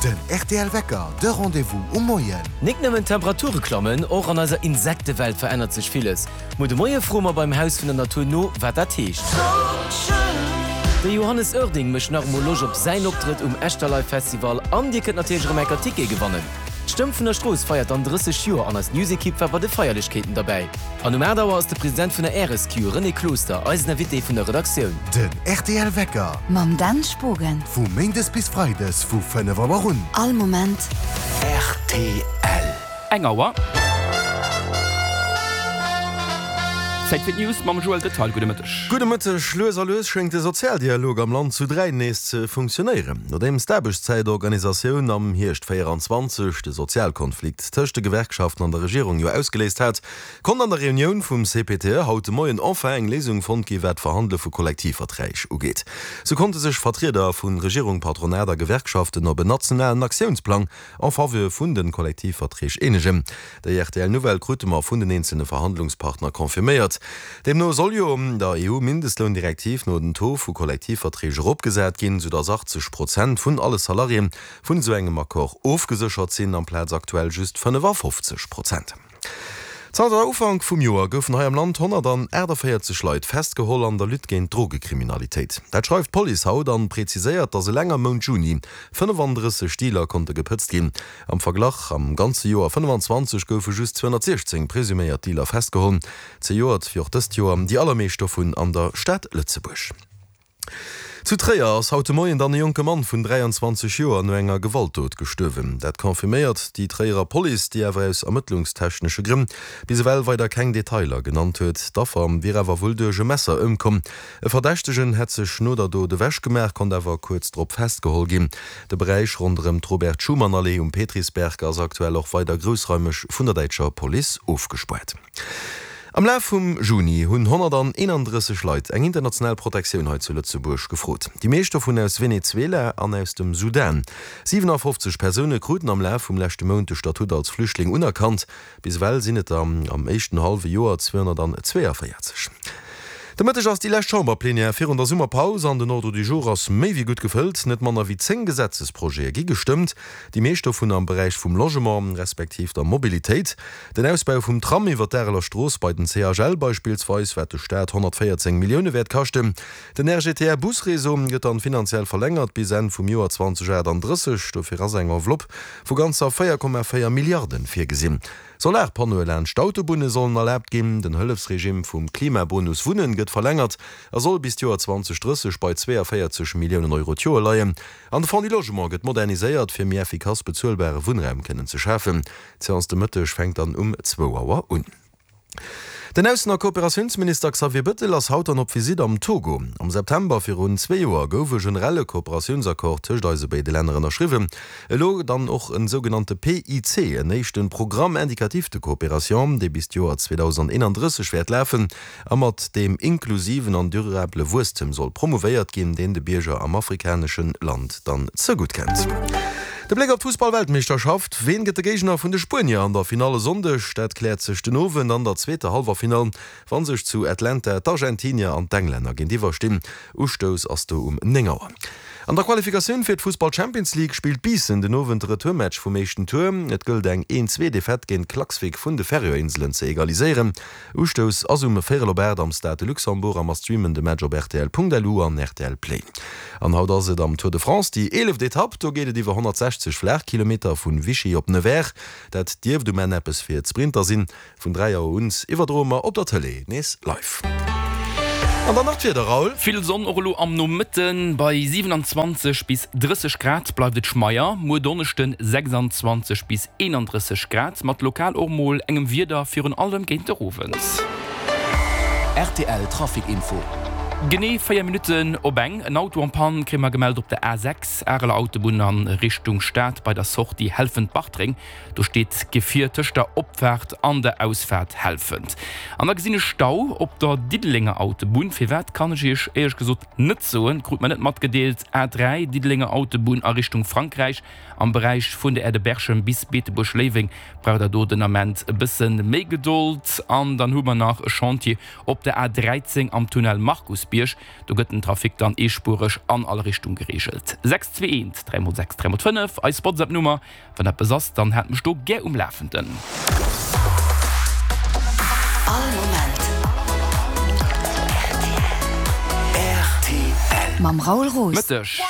Den rtl Wecker, de Rendez-vous um Moien. Nik nëmmen d'Temperature klammen, och an eiser Insektewelt verännert sech villes. Muer de Moie froe mer beim Haus vun der Natur no, wat dat heescht. De Johannes Oerding mécht nach emol Loscht op säin Optrëtt um Echterlive Festival an dir kënnt natierlech erëm enker Tickete gewannen. D'Stëmm vun der Strooss feiert dann 30 Joer an eis News-Ekipp war bei de Feierlechkeeten derbäi. An um 8 Auer ass de President vun der RSQ, René Closter, eisen Invité vun der Redaktioun. Den rtl Wecker. Mam Dan Spogen. Vu Méindes bis Freides vu 5 Auer un. All Moment. Rtl. Eng Auer. Zäit fir d'News mam Joël Detaille. Gudde Mëtteg. Gudde Mëtteg. Lues a lues schéngt de Sozialdialog am Land zu 3 nees ze funktionéieren. Nodeems d'Aarbechtszäitorganisatioun am Hierscht 24 de Sozialkonflikt tëscht de Gewerkschaften an der Regierung jo ausgeléist hat, Konnt an der Reunioun vum CPTE haut de Moien enfin eng Léisung fonnt gi wat d'Verhandele vu Kollektivverträg ugeet. Sou konnte sech Vertrieder vu Regierung, Patronat a Gewerkschaften op en nationalen Aktiounsplang en faveur vun de Kollektivverträg eenegen. Déi rtl Nouvelle krute mer vun den eenzelne Verhandlungspartner confirméiert. Deemno soll jo der EU-Mindestloundirektiv no den Taux vu Kollektivverträg eropgesat ginn, sou datt 80 Prozent vun alle Salariéen vun esou engem Accord ofgeséchert sinn, amplaz aktuell just 55 Prozent. Zanter Ufank vum Joer goufen hei am Land 148 Leit festgeholl an der Lutte géint d'Drogekriminalitéit. Dat schreift d'Police haut an preziséiert, datt eleng am Mount Juni 35 Dealer konnte gepëtzt ginn. Am Verglach, am ganze Joer 25 goufe just 216 presuméiert Dealer festgeholl. Zejoert wéi och dëst Joer déi allermeescht dovun an der Stad Lëtzebuerg. Zu Tréier ass haut de Moien dann e jonke Mann vun 23 Joer no enger Gewaltdot gestuerwen. Dat confirméiert déi Tréierer Police, déi awer aus ermëttlungstechnesche Grënn bis ewell weider keng Detailer genannt huet. D'Affer wier awer wuel duerch e Messer ëmkomm. E Verdächtegen hätt sech no der Dot ewech gemaach, konnt awer kuerz drop festgeholl ginn. De Beräich ronderëm d'Robert-Schuman-Allee um Petrisberg ass aktuell och weider groussraimeg vun der däitscher Police ofgespaart. Am Laf vum Juni hunn 131 Leit eng international Protektioun hei zu Lëtzebuerg gefrot. Déi meescht dovun aus Venezuela an aus dem Sudan. 57 Persoune kruten am Laf vum leschte Mount de Statut als Flüchtling unerkannt. Bis ewell sinn et der am éischten hallwe Joer 242. De Mëtteg ass déi lescht Chamberplenière virun der Summerpaus an den Ordre du jour ass méi wéi gutt gefëllt. Net manner wéi 10 Gesetzesprojete gi gestëmmt, déi meescht dovun am Beräich vum Logement respektiv der Mobilitéit. Den Ausbau vum Tram iwwer d'Areler Strooss bei den CHL beispillsweis, wat de Staat 114 Millioune wäert kaschten. Den RGTR-Busreseau gëtt dann finanziell verlängert bis Enn vum Joer 2038. Dofir ass eng Enveloppe vu ganzer 4,4 Milliarden virgesinn. Solarpannoe laanscht d'Autobunne sollen erlaabt ginn. Den Hëllefsregime vum Klimabonus Wunnen gëtt verlängert a soll bis d'Joer 2030 bei 42 Milliounen Euro d'Joer leien. An de Fonds du Logement gëtt moderniséiert, fir méi effikass bezuelbare Wunnraum kënnen ze schafen. D'Seance de Mëtteg fänkt dann um zwou Auer un. Den Aussen a Kooperatiounsminister Xavier Bëttel ass haut dann op Visitt am Togo. Am September virun zwee Joer gouf e generelle Kooperatiounsaccord tëscht eise béide Länner ënnerschriwwen. Elo dann och en sougenannte PIC, en éischte Programme indicatif de coopération, dee bis d'Joer 2031 wäert lafen a mat deem inklusiven an durabele Wuesstem soll promouvéiert ginn, deen de Bierger am afrikanesche Land dann zegutt kennt. De Bléck op d'Fussball-Weltmeeschterschaft, Ween gëtt de Géigner vun de Spuenier an der Finall e Sonndeg? Dat kläert sech den Owend an der zweeter Hallwerfinall, wa sech zu Atlanta d'Argentinier an d'Englänner géintiwwer stinn. Ustouss ass do um 9 Auer. An der Qualifikatioun fir d'Fussball-Champions League spillt Biissen den Owend de Retourmatch vum éischten Tour. Et gëllt eng 1-Zwee-Defaite géint Klaksvik vun de Färöer-Inselen ze egaliséieren. Ustouss ass um véierel op 8 am Stade de Luxembourg a mer streamen de Match op rtl.lu an rtl Play. An haut ass et am Tour de France déi eeleft Etapp. Do geet et iwwer 160 Flaachkilometer vun Vichy op Nevers. Dat dierft um Enn eppes fir d'Sprinter sinn. Vun 3 Auer un iwwerdroe mer op der Tëlee nees live. An dann nach d'Wieder, Raoul. Vill Sonn och elo am Nomëtten, bei 27 bis 30 Grad bleift et schmeier. Muer Donneschden 26 bis 31 Grad, mat lokal och mol engem Wieder, virun allem géint der Owend. Rtl Trafic Info. Genee 4 Minutten op eng. En Auto en Panne kréie mer gemellt op der A6, Areler Autobunn a Richtung Stad bei der Sortie Helfent-Bartreng. Do steet d'Gefier tëscht der Opfaart an der Ausfaart Helfent. An da gesinn ech Stau op der Diddelenger Autobunn. Firwat kann ech iech éierlech gesot net soen, krut mer net matgedeelt. A3, Diddelenger Autobunn a Richtung Frankräich. Am Beräich vun der Aire de Berchem bis Beetebuerg-Léiweng braucht der do den Ament e bësse méi Gedold. An dann hu mer nach e Chantier op der A 13 am Tunnel Markusbierg. Kierchesbierg. Do gëtt den Trafic dann eespuereg an all Richtung gereegelt. 6 2 1 3 mol 6 3 mol 5, eis WhatsApp-Nummer. Wann eppes ass, dann haalt mech do gär um Lafenden. All Moment rtl. Mam Raoul Roos. Mëtteg.